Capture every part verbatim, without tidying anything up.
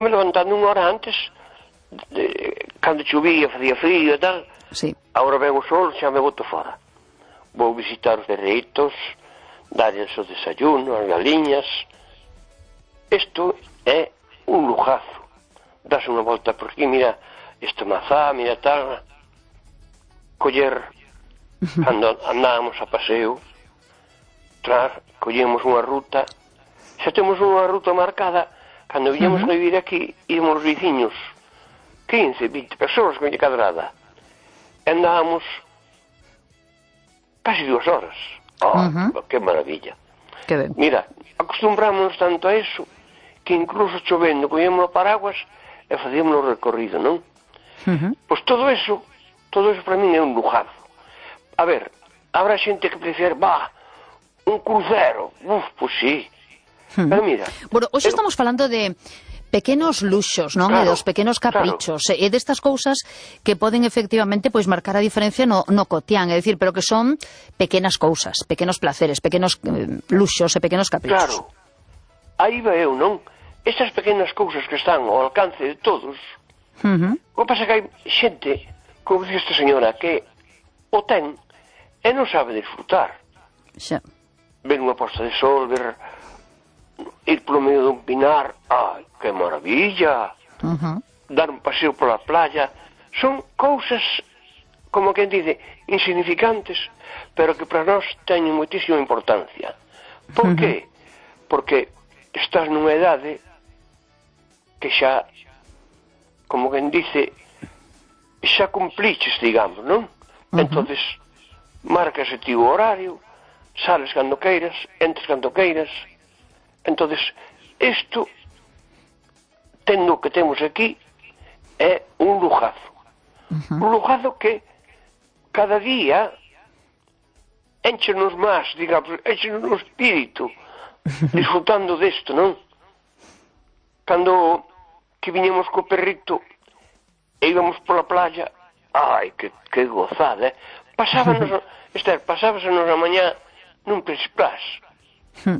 me levantando unha hora antes, de, cando chovía, facía frío e tal. Sí. Agora ven o sol, xa me boto fora. Vou visitar os derreitos, darles o desayuno, as galiñas. Isto é un lujazo. Das unha volta por aquí, mira, esta mazá, mira tal. Coller, cando andábamos a paseo, tras, collemos unha ruta, xa temos unha ruta marcada. Cando viñamos uh-huh. a vivir aquí, íamos os viciños, quince, vinte persoas con cadrada. E andábamos casi dúas horas. Oh, uh-huh. que maravilla. Que ben. Mira, acostumbrámonos tanto a eso, que incluso chovendo, collemos o paraguas e facíamos o recorrido, non? Uh-huh. Pois todo eso, todo eso para min é un lujazo. A ver, habrá xente que prefere, bah, un crucero. Uf, pois sí. Pero mira, bueno, hoxe eu... estamos falando de pequenos luxos, non? Claro, e dos pequenos caprichos, claro. E destas cousas que poden efectivamente pois marcar a diferencia no, no cotián, é dicir, pero que son pequenas cousas, pequenos placeres, pequenos eh, luxos e pequenos caprichos. Claro, aí va eu, non? Estas pequenas cousas que están ao alcance de todos, uh-huh. o que pasa que hai xente, como dice esta señora, que o ten e non sabe disfrutar. Xa. Ver unha posta de sol, ver... ir polo medio dun pinar, ai, que maravilla, uh-huh. dar un paseo pola playa, son cousas, como quen dice, insignificantes, pero que para nós teñen moitísima importancia. Por uh-huh. que? Porque estás nunha idade que xa, como quen dice, xa cumpliches, digamos, non? Uh-huh. Entonces, marcase ti o horario, sales cando queiras, entres cando queiras. Entonces, isto, tendo o que temos aquí, é un lujazo. Uh-huh. Un lujazo que cada día enchenos máis, digamos, enchenos o espírito, disfrutando desto, non? Cando que viñemos co perrito e íbamos pola playa, ai, que, que gozada, eh? Pasábanos, Esther, pasábasenos a mañá nun presplás.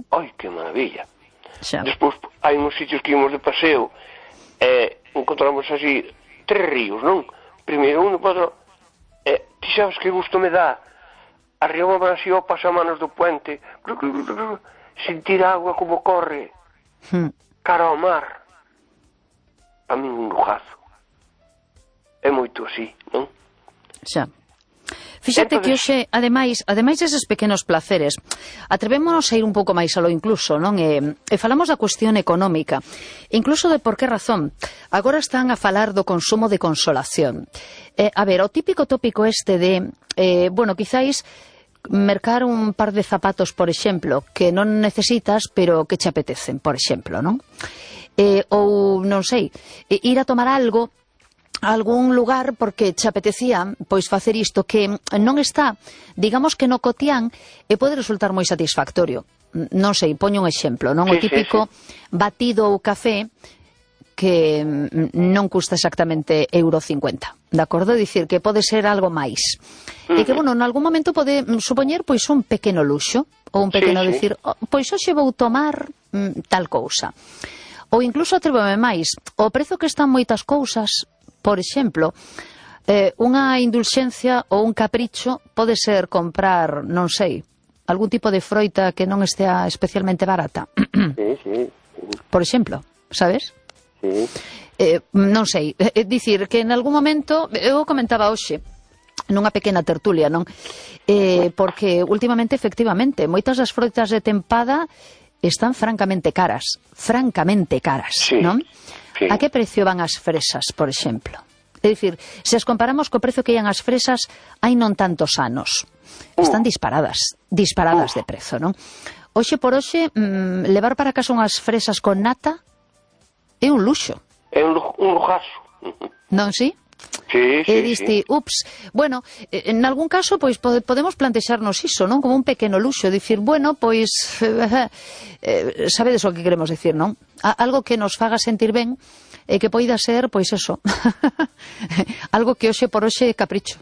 Ai, que maravilla. Xa. Despois hai uns sitios que íbamos de paseo e encontramos así tres ríos, non? Primeiro un, outro, e ti sabes que gusto me dá arriba así ao pasamanos do puente, sentir a agua como corre cara ao mar. A mí un lujazo. É moito así, non? Xa. Fíxate que hoxe, ademais, ademais deses pequenos placeres, atrevémonos a ir un pouco máis alo incluso, non? E, e falamos da cuestión económica, incluso de por que razón. Agora están a falar do consumo de consolación. Eh, a ver, o típico tópico este de, eh, bueno, quizáis mercar un par de zapatos, por exemplo, que non necesitas, pero que che apetecen, por exemplo, non? Eh, ou, non sei, ir a tomar algo a algún lugar porque che apetecía pois facer isto que non está, digamos que no cotián, e pode resultar moi satisfactorio. Non sei, poño un exemplo, non? Sí, o típico sí, sí. batido ou café que non custa exactamente euro cincuenta, de acordo? Dicir que pode ser algo máis. Uh-huh. E que, bueno, en algún momento pode supoñer pois un pequeno luxo, ou un pequeno sí, dicir, sí. Oh, pois hoxe vou tomar mm, tal cousa. Ou incluso atrévome máis, o prezo que están moitas cousas. Por exemplo, eh, unha indulxencia ou un capricho pode ser comprar, non sei, algún tipo de froita que non estea especialmente barata. Sí, sí. Por exemplo, sabes? Sí. Eh, non sei, é dicir que en algún momento, eu comentaba hoxe, nunha pequena tertulia, non? Eh, porque últimamente, efectivamente, moitas das froitas de tempada están francamente caras, francamente caras, sí. non? Sí. A que precio van as fresas, por exemplo? É dicir, se as comparamos co precio que ian as fresas hai non tantos anos, están disparadas, disparadas de prezo, non? Hoxe por hoxe, mmm, levar para casa unhas fresas con nata é un luxo. É un, un lujazo. Non, sí? Sí, sí, e diste, sí. ups, bueno, en algún caso pois pode, podemos plantexarnos iso, non? Como un pequeno luxo, dicir, bueno, pois eh, eh, sabedes o que queremos dicir, non? A, algo que nos faga sentir ben e que poida ser, pois eso algo que hoxe por hoxe é capricho.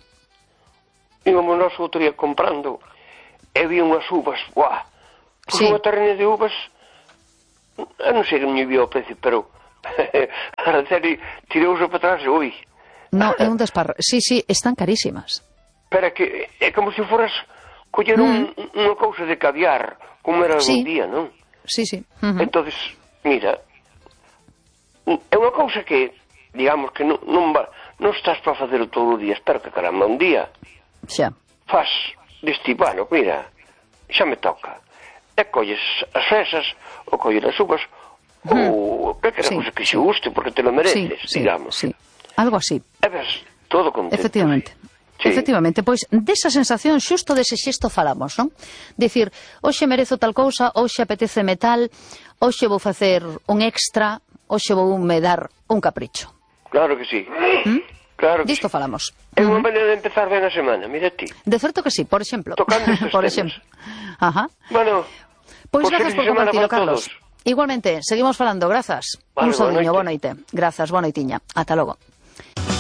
Íbamos nós outro día comprando e vi unhas uvas, guau, pois sí. Unha terrena de uvas, eu non sei que me vio o precio, pero a serie tirouse para atrás e ui. No, é un desparro. Sí, sí, están carísimas. Pero é que é como se foras coller un, mm. unha cousa de caviar, como era sí. un día, non? Sí, sí. Uh -huh. Entonces, mira, é unha cousa que, digamos, que non, non, va, non estás para facer todo o día, espero que caramba, un día xa faz deste, bueno, mira, xa me toca. E colles as fresas, ou colles as uvas, uh -huh. ou que quera sí, cousa que sí. xe guste, porque te lo mereces, sí, digamos. Sí, algo así. E ves, todo contento. Efectivamente. Sí. Efectivamente, pois desa sensación xusto dese xesto falamos, non? Dicir, hoxe merezo tal cousa, hoxe apeteceme tal, hoxe vou facer un extra, hoxe vou me dar un capricho. Claro que sí. ¿Mm? Claro que Disto sí. falamos. É unha maneira de empezar ben a semana, mira ti. De certo que sí, por exemplo. Tocando estes por temas. exemplo. Ajá. Bueno, pois pues gracias por compartirlo, Carlos. Todos. Igualmente, seguimos falando, grazas. Vale, un saúdiño, boa noite. Grazas, boa noitiña. Ata logo.